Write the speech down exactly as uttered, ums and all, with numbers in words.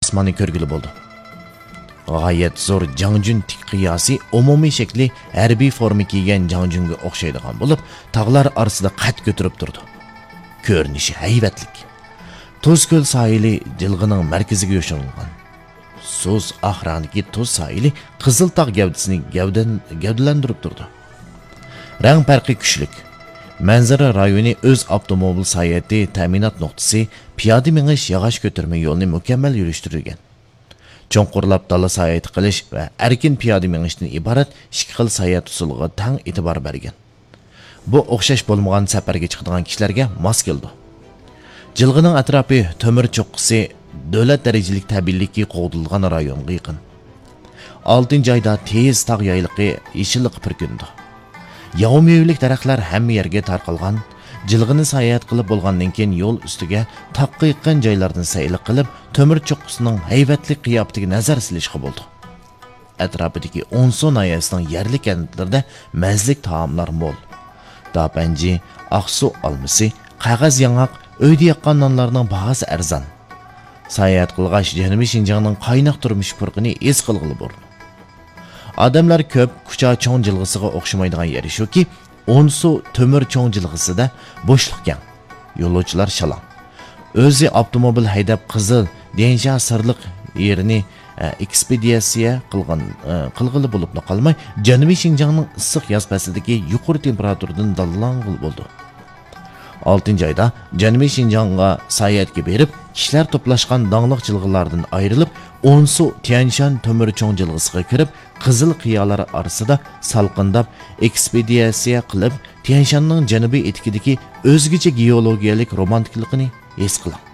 ئاسماننى كۆرگىلى بولىدۇ. غايەت زور جاڭجۈن تىك قىياسى ئومۇمىي شەكلى ھەربىي فورما كىيگەن جاڭجۈنگە ئوخشايدىغان بولۇپ، تاغلار ئارىسىدا قەد كۆتۈرۈپ تۇرىدۇ. كۆرۈنۈشى ھەيۋەتلىك. تۇز كۆل ساھىلى جىلغىنىڭ مەركىزىگە يوشۇرۇنغان. سۇس ئاق رەڭدىكى تۇز ساھىلى قىزىل تاغ گەۋدىسىنى گەۋدەن-، گەۋدىلەندۈرۈپ تۇرىدۇ. رەڭ پەرقى كۈچلۈك. مەنزىرە رايونى ئۆز ئاپتوموبىل ساياھىتى تەمىنات نۇقتىسى، پىيادە مېڭىش ياغاچ كۆتۈرمە يولىنى مۇكەممەل يۈرۈشتۈرگەن. چوڭقۇرلاپ دالا ساياھىتى قىلىش ۋە ئەركىن پىيادە مېڭىشتىن ئىبارەت ئىككى خىل ساياھەت ئۇسۇلىغا تەڭ ئېتىبار بەرگەن. بۇ ئوخشاش بولمىغان سەپەرگە چىقىدىغان كىشىلەرگە ماس كېلىدۇ. جىلغىنىڭ ئەتراپى تۆمۈر چوققىسى دۆلەت دەرىجىلىك تەبىئىيلىككە قوغدىلىدىغان رايونغا يېقىن. ئالتىنچى ئايدا تېيىز تاغ يايلىقى يېشىللىققا پۈركىنىدۇ. ياۋا مېۋىلىك دەرەخلەر ھەممە يەرگە تارقالغان. جىلغىنى ساياھەت قىلىپ بولغاندىن كېيىن يول ئۈستىگە تاغقا يېقىن جايلاردىن سەيلە قىلىپ، تۆمۈر چوققىسىنىڭ ھەيۋەتلىك قىياپىتىگە نەزەر سېلىشقا بولىدۇ. ئەتراپىدىكى ئونسۇ ناھىيەسىنىڭ يەرلىك كەنتلىرىدە مەززىلىك تائاملار مول. داپەنجى، ئاقسۇ ئالمىسى، قەغەز ياڭاق، ئۆيدە ياققان نانلارنىڭ باھاسى ئەرزان. ساياھەت قىلغاچ، جەنۇبىي شىنجاڭنىڭ قايناق تۇرمۇش پۇرىقىنى ھېس قىلغىلى بولىدۇ. ئادەملەر كۆپ، كۇچا چوڭ جىلغىسىغا ئوخشىمايدىغان يېرى شۇكى، ئونسۇ تۆمۈر چوڭ جىلغىسىدا بوشلۇق كەڭ. يولۇچىلار شالاڭ. ئۆزى ئاپتوموبىل ھەيدەپ قىزىل، ديەنشان سىرلىق يېرىنى، ئە، ئېكسپېدىتسىيە قىلغان، ئە، قىلغىلى بولۇپلا قالماي، جەنۇبىي شىنجاڭنىڭ ئىسسىق ياز پەسلىدىكى يۇقىرى تېمپېراتۇرىدىن دالالانغىلى بولىدۇ. ئالتىنچى ئايدا جەنۇبىي شىنجاڭغا ساياھەتكە بېرىپ، كىشىلەر توپلاشقان داڭلىق جىلغىلاردىن ئايرىلىپ، ئونسۇ تيەنشان تۆمۈر چوڭ جىلغىسىغا كىرىپ، قىزىل قىيالار ئارىسىدا سالقىنداپ، ئېكسپېدىتسىيە قىلىپ، تيەنشاننىڭ جەنۇبىي ئېتىكىدىكى ئۆزگىچە گېئولوگىيەلىك رومانتىكىلىقىنى ھېس قىلىڭ.